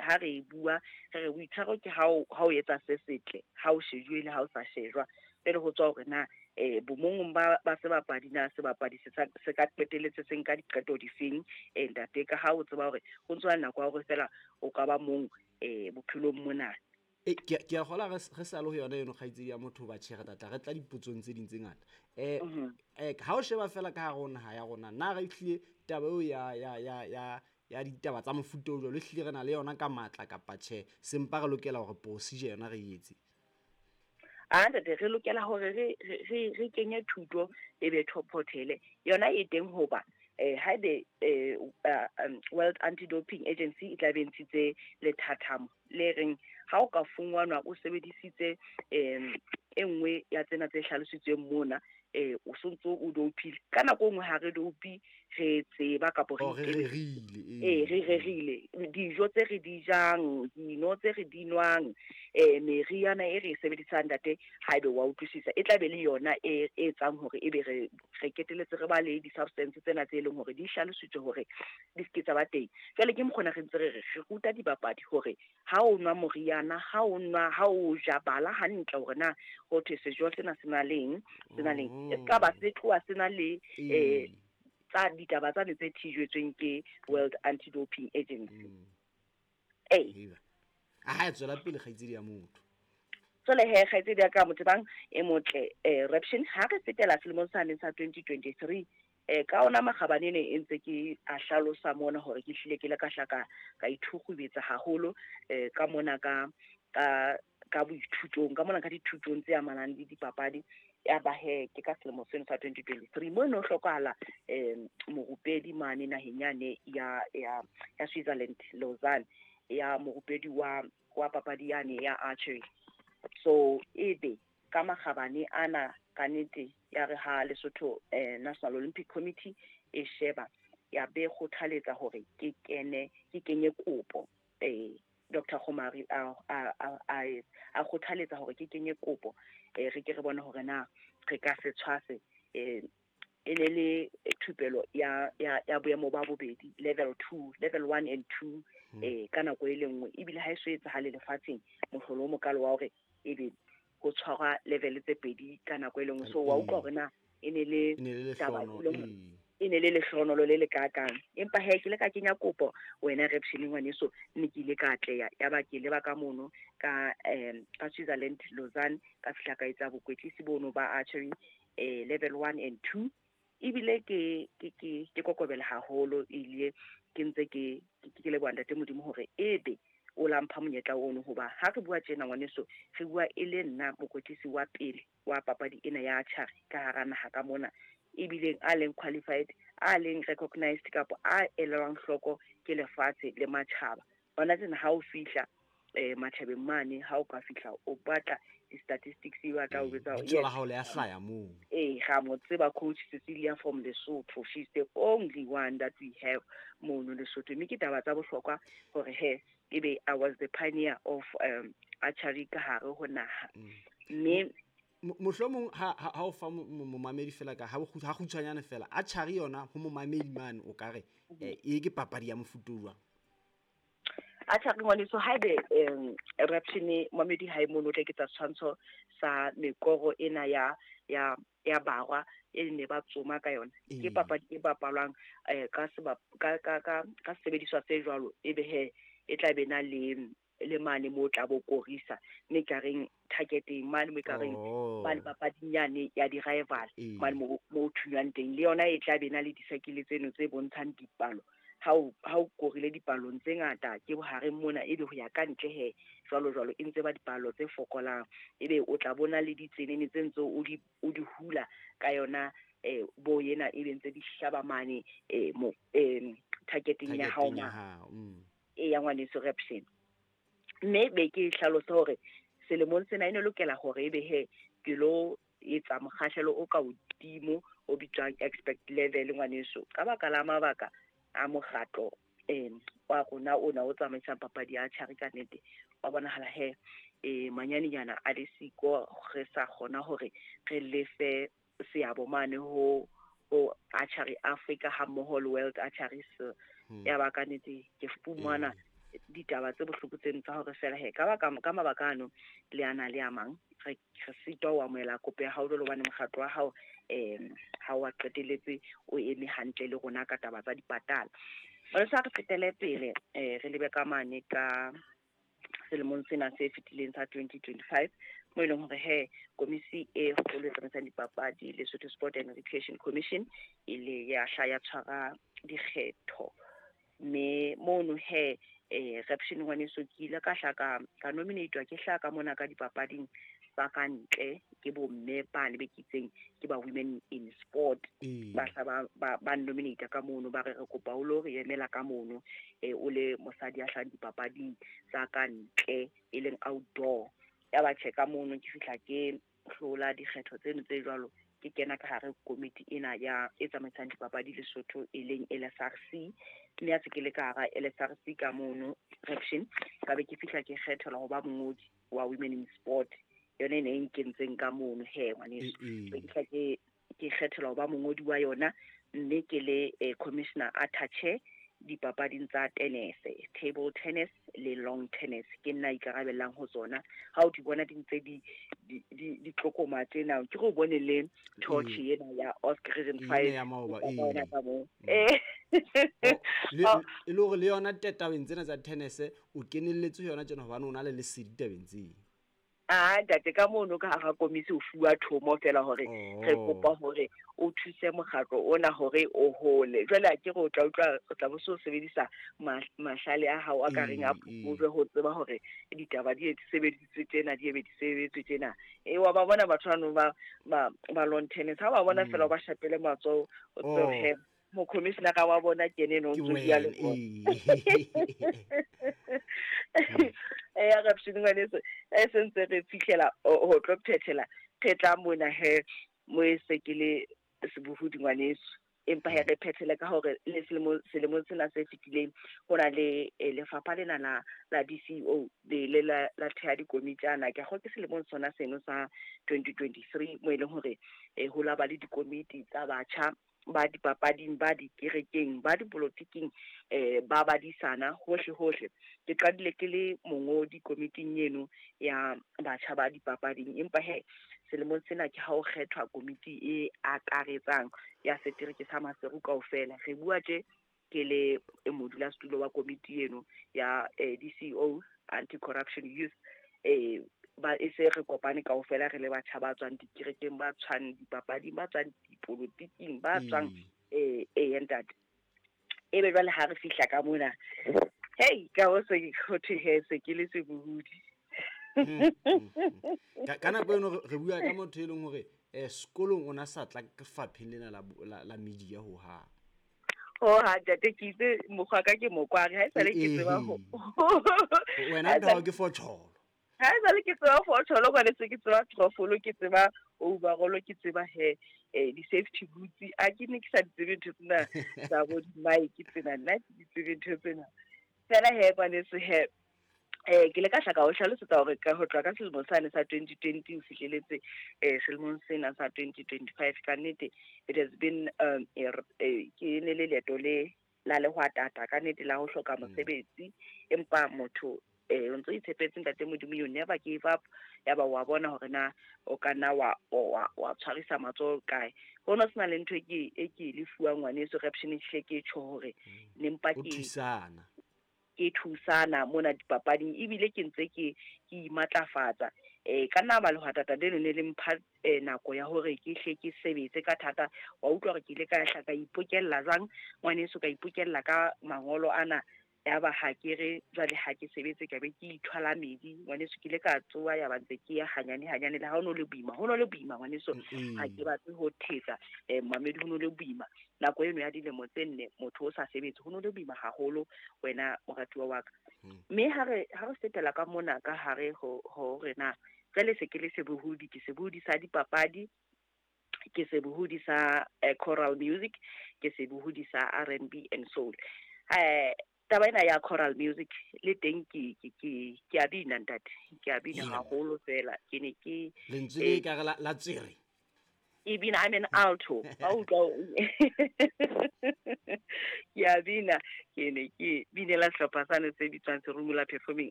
ha re e bua re re boitshwaro ke ha o etsa se setle, ha o shejuwe le ha o sa shejwa. Pele ho tswa hore na bomong ba sebapadi na sebapadi se ka qetelletse se nka diqeto difeng, ntate, ka ha o tseba hore ho ntso nako ya hore fela o ka ba mong bophelong mona. Ke a kgola re sa le ho yona eno kgaitsedi ya motho ba tjhe re tla re tla dipotsong tse ding tse ngata. Ha o sheba fela ka hare ho naha ya rona, na re hlile taba eo ya ditaba tsa mofuta o jwalo hlile re na le yona ka matla kapa tjhe, sempa re lokela hore procedure yona re etse? Ntate, re lokela hore re kenye thuto e be top hotel yona e teng, hoba haebe World Anti-Doping Agency e tla be ntshitse lethathamo le reng ha o ka fungwanwa o sebedisitse e nngwe ya tsena tse hlalositsweng mona, o sontso o dopile. Ka nako e nngwe ha re dopi re tseba kapo re rerile, re rerile dijo tse re di jang, dino tse re di nwang, meriana e re e sebedisang, ntate, haebe wa utlwisisa, e tla be le yona e etsang hore ebe re keteletse re ba le di-substance tsena tse leng hore di hlalositswe hore di se ke tsa ba teng. Jwale ke mokgona re ntse re re ruta dibapadi hore ha o nwa moriana, ha o nwa, ha o ja, bala hantle hore na ho thwe sejo sena se na leng, se na leng, e ka ba se tloha se na le tsa ditaba tsane tse thijwetsweng ke World Anti-Doping Agency. A ha tswela pele kgaitsedi ya motho. Jwale he kgaitsedi ya ka Motebang e motle, Raption, ha re fetela selemong sane sa 2023, ka ona makgabane ne e ntse ke a hlalosa mona hore ke hlile ke le ka hlaka ka ithukgubetsa haholo ka mona ka boithutong, ka mona ka dithutong tse amanang le dipapadi. Ya ba he ke ka selemo seno sa 2023 mo no hlokahala morupedi mane naheng yane ya Switzerland, Lausanne, ya morupedi wa papadi yane ya archery. So ebe ka makgabane ana ka nnete ya re ha Lesotho National Olympic Committee e sheba ya be kgothaletsa hore ke kenye kopo. Dr. Khomari a kgothaletsa hore ke kenye kopo, re ke re bone hore na re ka se tshwase e ne le thupelo ya boemo ba bobedi, level 2, level 1 and 2, ka nako e le nngwe. Ebile ha e so etsahale lefatsheng mohlolo o mokalo wa hore ebe ho tshwarwa level tse pedi ka nako e le nngwe. So wa utlwa hore na e ne le taba e ne le lehlohonolo le le kakang. Empa he ke le ka kenya kopo wena Raption ngwaneso, mme ke ile ka atleha. Ya ba ke leba ka mono ka Switzerland, Lausanne, ka fihla ka etsa bokwetlisi bono ba archery level 1 and 2. Ebile ke kokobela haholo, ile ke ntse ke leboha ntate Modimo hore ebe o la mpha monyetla ono, hoba ha re bua tjena ngwaneso, re bua e le nna mokwetlisi wa pele wa papadi ena ya archery ka hara naha ka mona, ebileng a leng qualified, a leng recognized kapa a elwang hloko ke lefatshe le matjhaba. Bona tsena ha o fihla matjhabeng mane, ha o ka fihla o batla di-statistics, e batla o betsa lebitso la hao le a hlaya moo. Ra mo tseba Coach Cecilia from Lesotho, she's the only one that we have mono Lesotho. Mme ke taba tsa bohlokwa hore he ebe I was the pioneer of archery ka hare ho naha. Mme mohlomong ha o fa momamedi fela ka ha kgutshwanyane fela, archery yona ho momamedi mane o ka re e ke papadi ya mofuta o jwang? Archery ngwaneso, haebe Raption momamedi ha e mono, o tla ketsa setshwantsho sa mekoro ena ya barwa e ne ba tsoma ka yona. Ke papadi e bapalwang ka sebediswa se jwalo, ebe he e tla be na le mane mo tla bo korisa, mme ka reng targeting mane mo ka reng ba papading yane ya di-rival mane mo thunywang teng, le yona e tla be na le disakile tseno tse bontshang dipalo. Ha o korile dipalong tse ngata ke bohareng mona, ebe ho ya ka ntle he jwalo jwalo, e ntse ba dipalo tse fokolang, ebe o tla bona le ditsenene tse ntse o di hula ka yona bo yena, ebe ntse di hlaba mane mo targeting ya hao ya ngwaneso Raption. Mme be ke hlalosa hore selemong sena e ne lokela hore ebe he ke lo etsa mokgahlelo o ka hodimo o bitswang expert level ngwaneso, ka baka la mabaka a mokgatlo wa rona ona o tsamaisang papadi ya archery. Ka nnete wa bonahala he manyanenyana a le siko, re sa kgona hore re lefe seabo mane ho Archery Africa ha mmoho le World Archery. Ya ba ka nnete ke fumana Ditaba tse bohloko tseno tsa hore fela he ka baka ka mabaka ano le ana le a mang re sitwa ho amohela kopo ya hao jwalo hobane mokgatlo wa hao ha wa qetelletse o eme hantle le rona ka taba tsa dipatala. Jwale sa re fetele pele re lebe ka mane ka selemong sena se fetileng sa 2025 mo e leng hore he komisi e kgolo e tsamaisang dipapadi, Lesotho Sport and Recreation Commission, e le ya hla ya tshwara dikgetho, mme mono he Reption ngwaneso ke ile ka hla ka nominatwa ke hla ka mona ka dipapading tsa ka ntle ke bomme ba le be ke itseng ke ba Women in Sport. Ba hla ba nominate ka mono, ba re re kopa o lo re emela ka mono o le mosadi ya hlahang dipapading tsa ka ntle e leng outdoor. Ya ba tjhe ka mono ke fihla ke hlola dikgetho tseno tse jwalo, ke kena ka hare komiti ena ya e tsamaisang dipapadi Lesotho e leng LSRC, mme ha se ke le ka hara LSRC ka mono Reption ka be ke fihla ke kgethelwa ho ba mongodi wa Women in Sport, yona e ne e nkentseng ka mono he ngwaneso. Be ke fihla ke kgethelwa ho ba mongodi wa yona, mme ke le commissioner attache dipapading tsa tenese, table tennis le long tennis, ke nna ikarabellang ho tsona. Ha o di bona di ntse di tlokoma tjena, ke go bone le torch ena ya Oscar Region 5 ya maoba, o bona ka moo. Le e le hore le yona tabeng tsena tsa tennis o kenelletse ho yona tjena hobane o na le lesedi tabeng tseo. Ah, ntate ka mono ka hara komisi o fuwa thomo fela hore re kopa hore o thuse mokgatlo ona hore o hole. Jwale ha ke re o tla utlwa o tla bo so sebedisa mahlale a hao a ka reng a phokojwe ho tseba hore ditaba di sebedisitswe tjena, di ebe di sebetswe tjena. Wa ba bona batho bano ba lawn tennis, ha ba bona fela o ba shapele matsoho, o tsebe he mokhomishenara wa bona ke ene eno o Ke ntso bua le wena, bona. Ya Reption ngwaneso, e sentse re fihlela ho tlo phethela re tla mona he mo e se ke le sebohodi ngwaneso, empa he re phethele ka hore le selemong sena se fetileng ho na le lefapha lena la DCO le le la theha dikomitjana. Ke kgolwa ke selemong sona seno sa 2023 mo e leng hore ho la ba le dikomiti tsa batjha ba dipapading, ba dikerekeng, ba dipolotiking, ba badisana hohle hohle. Ke qadile ke le mongodi komiting eno ya batjha ba dipapading, empa he selemong sena ke ha ho kgethwa komiti e akaretsang ya setereke sa Maseru kaofela. Re bua tje ke le modulasetulo wa komiti eno ya DCO Anti-Corruption Youth, ba e se re kopane kaofela re le batjha ba tswang dikerekeng, ba tswang dipapading, ba tswang dipolotiking, ba tswang ntate. Ebe jwale ha re fihla ka mona, hei, ka ho se ho thwe he se ke le sebohodi. Ka nako eno re bua ka motho e leng hore sekolong o na sa tla fapheng lena la media ho hang. Ho ha ntate, ke itse mokgwa ka ke mokware, ha esale ke tseba ho Wena ntho ke fotjholo. Ha esale ke tseba fotjholo, hobane se ke tseba trofolo, ke tseba overall, ke tseba he di-safety boots. A ke ne ke sa di tsebe ntho tsena tsa bo di-mic tsena, nna ke di tsebe ntho tsena. Fela he ngwaneso he, ke le ka hlaka ho hlalosetsa hore ka ho tloha ka selemo sane sa 2020 ho fihleletse selemong sena sa 2025, ka nnete it has been ke ne le leeto le la lehwatata ka nnete la ho hloka mosebetsi, empa motho o ntso itshepetse ntate Modimo, you never give up. Ya ba wa bona hore na o ka nna wa tshwarisa matsoho kae. Ho no sena le ntho e ke e lefuwang ngwaneso Reption, ehlile ke tjho hore ne mpa O ke thusana. ke thusana mona dipapading, ebile ke ntse ke imatlafatsa. Ka nna ba lehwatata leno ne le mpha nako ya hore ke hle ke sebetse ka thata. Wa utlwa hore ke ile ka hla ka ipokella jwang ngwaneso, ka ipokella ka mangolo ana. Ya ba ha ke re jwale ha ke sebetse ka be ke ithwala medi ngwaneso, ke ile ka tsoha ya ba ntse ke ya hanyane hanyane. Le ha ho no le boima, ho no le boima ngwaneso, ha ke batle ho thetsa mamedi, ho no le boima nako eno ya dilemo tse nne motho o sa sebetse, ho no le boima haholo wena moratuwa wa ka. Mme ha re fetela ka mona ka hare ho rena jwale se ke le sebohodi, ke sebohodi sa dipapadi, ke sebohodi sa choral music, ke sebohodi sa R&B and soul. Taba ena ya choral music le teng ke a bina ntate, ke a bina haholo fela. Ke ne ke Lentswe le ka re la tswere. Ke bina, I'm an alto. Ba utlwa ke a bina, ke ne ke binela sehlopha sane se bitswang Serumula Performing